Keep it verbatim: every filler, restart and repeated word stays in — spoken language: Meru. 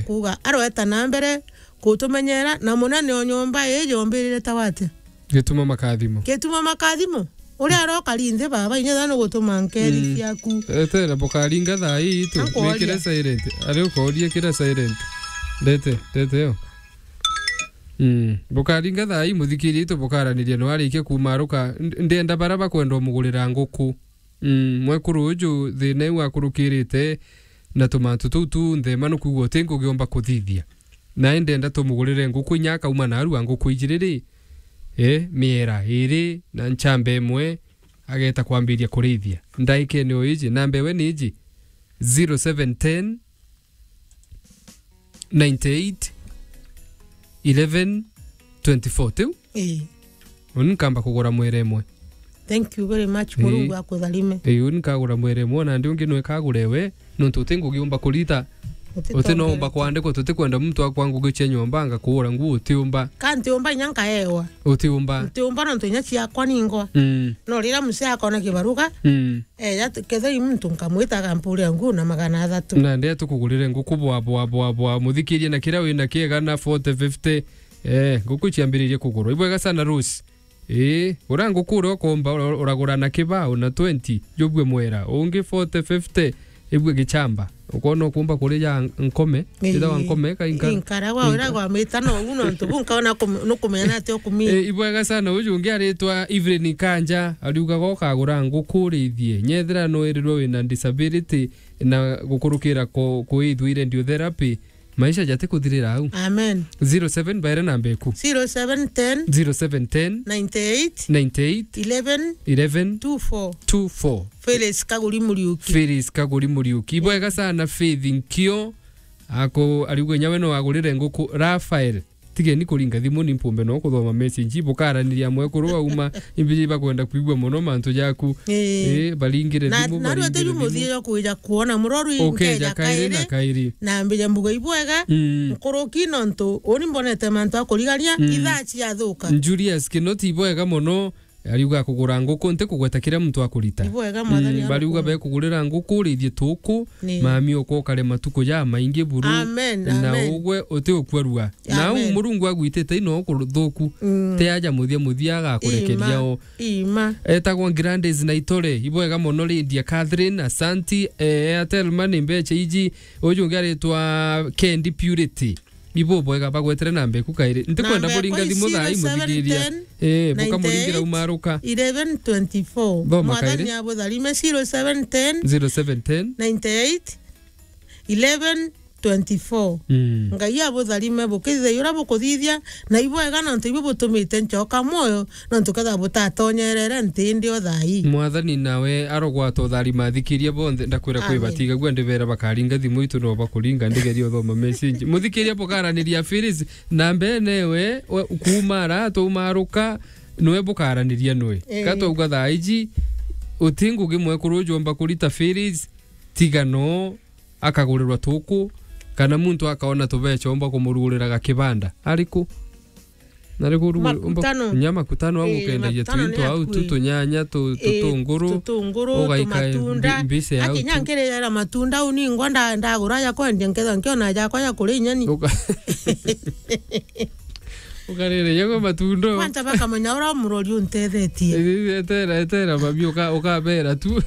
kuuga, arweta na mbere kutumenyera, na munene o nyomba ii yombirire ta watia? Gituma Makathimo. Gituma Makathimo. Uria arokari nthi baba, inya thano gutuma nkeri Mm. ciaku. Etera, bukaringa thaa ii tu. Nankworia. Wikire silent. Ari ukoria kira silent. Ndete, ndete yo. Mm. Bukaringa thaa ii, muthikiri itu bukaraniria no arikia kumaruka. Nd-, ndenda bara bakwenda umugurira nguku. Mm, mwekuru uju thina iu akurukirite na tumantu tuu tunthe, ma nukuuga uti ngugi umba kuthithia. Nae ndenda tumugurire nguku inya akauma narua nguku ijiri ri, eh, miera iri na nchamba imwe, ageta kwambiria kurithia. Ndaikene o iji, namba ewe ni iji, zero seven ten, nine eight, eleven, twenty-four. Tiu? Ii. Uni nkamba kugura mwere imwe. Thank you very much. Ii. Murungu akutharime. Ii, uni nkagura mwere imwe, na ndi ungi nwe kagure we, nontu uti ngugi umba kurita. Uti no umba kwandikwa, tutikwenda muntu akwa ngugi cia nyomba, nga kugura nguo, uti umba. Ka nti umba inya nkaewa. Uti umba. Nti umba nontu inya ciakwa ningwa. Mm. No riria muse akona kibaruga, Mm. Eja, kethira i muntu nkamwita akampuria nguo na magana athatu. Na ndia tukugurire nguku bwa, bwa, bwa, bwa, muthikirie na kiria wina kiega na forty, fifty. Eh, nguku ciambiririe kugurwa. Ibwega sana Rose. Ii, ura nguku uria ukomba, ura-, uragura na kibao na twenty, jubue mwera. Ungi forty, fifty, ibue gichamba. Ukona ukumba kurija nkome, ithagwa nkome, ka inka-, inkaragwa, inka-, uragwa mita no u nontu bu nkaona kum-, nukumenya ati ukumi. Eh, ibwega sana, uju ungi aritwa Evelyn Kanja, ariugaga ukagura nguku urithie. Nyethira no irirwe wina disability na gukurukira ku-, kuithua radiotherapy, maisha jati kuthirira au. Amen. Zero seven baere namba eku. Zero seven ten, Zero seven ten, nine eight, nine eight, eleven, eleven, two four. Two four. Phyllis Kaguri Muriuki. Phyllis Kaguri Muriuki. Ibwega sana Faith Nkio. Ako, ariuga inya we no agurire nguku. Rafael, tigeni kuringa thimu ni mpumbe no kuthoma message. Bukaraniria mwekuru auma, imbiji bakwenda kuigua mono mantu jaku. Ii. Ii, baringire na, thimu, na rwete baringire ju muthia thimu. Jwa kuija kuona muroru. Ukeja nkeja kairi na kairi. Kairi. Na mbija mbuga ibwega, Mm. nkuruki nontu uni mbonete mantu a kurigania, Mm. ithaa ciathuka. Julius Kinoti, ibwega mono. Ariuga kugura nguku, nti kugweta kiria muntu akurita. Ibwega, Mwathani. Mm, bariuga arokore. Bekugurira nguku, urithie tuku, Ni. mami okokare matuku ja maingi buru. Amen, na amen. Ugwe uti ukwarua. Na Amen. Au Murungu agwitite ino kuthuku. Mm. Te aja muthia muthia agakurekeria Ima, o. Ima. Etagwa Grandes Naitore, ibwega mono Lydia Catherine, asanti, eh, Airtel Money mbecha iji, uju ungi aritwa Kendi Purity. Ibo bwega bagwetere namba eku kairi. Ntikwenda kuringa thimu thaa ii muthikiria. Eh, bukamuringira umaruka. Eleven twenty-four. Thoma kairi. Mwathani abutharime zero seven ten, Zero seven ten. Ninety-eight, eleven, twenty-four. Mm. Ngai abutharime bukithithia uria bukuthithia, na ibwega nontu ibu butumite ncoka mwoyo, nontu kethira butatonyerere nti indi o thaa ii. Mwathani nawe arogwata utharima athikiria bonthe, ndakwira kwi Amen. Batigagua ndibera bakaringa thimu itu no bakuringa ndigeria uthoma message. Muthikiria bukaraniria Phyllis, namba ene we, we, kuuma ara tumaruka, nwe bukaraniria nwe. Eh. Ka twauga thaa iji, uti ngugi mwekuru ujomba kurita Phyllis, tiga no akagurirwa tuku, kana muntu akaona tubecha umba kumurugurira gakibanda. Ariku? Nariku rugu-, umba Makutano. Nya makutano au Ii, ukendagia makutano tuinto ni au tu akui. Tunyanya, tu-, Ii, tutunguru, tutunguru, ugaika tumatunda. Mbi-, mbise au Aki tu. Nya nkirira matunda au ningwa nda-, ndagura ya kwendia nketha nkiona jakwa ya kuria inyeni. Uka-, ukarira yagwa matunda. Kwanza bakamenya uria murori untethetie. Ii, etera, etera, mami, uka-, ukabera tu.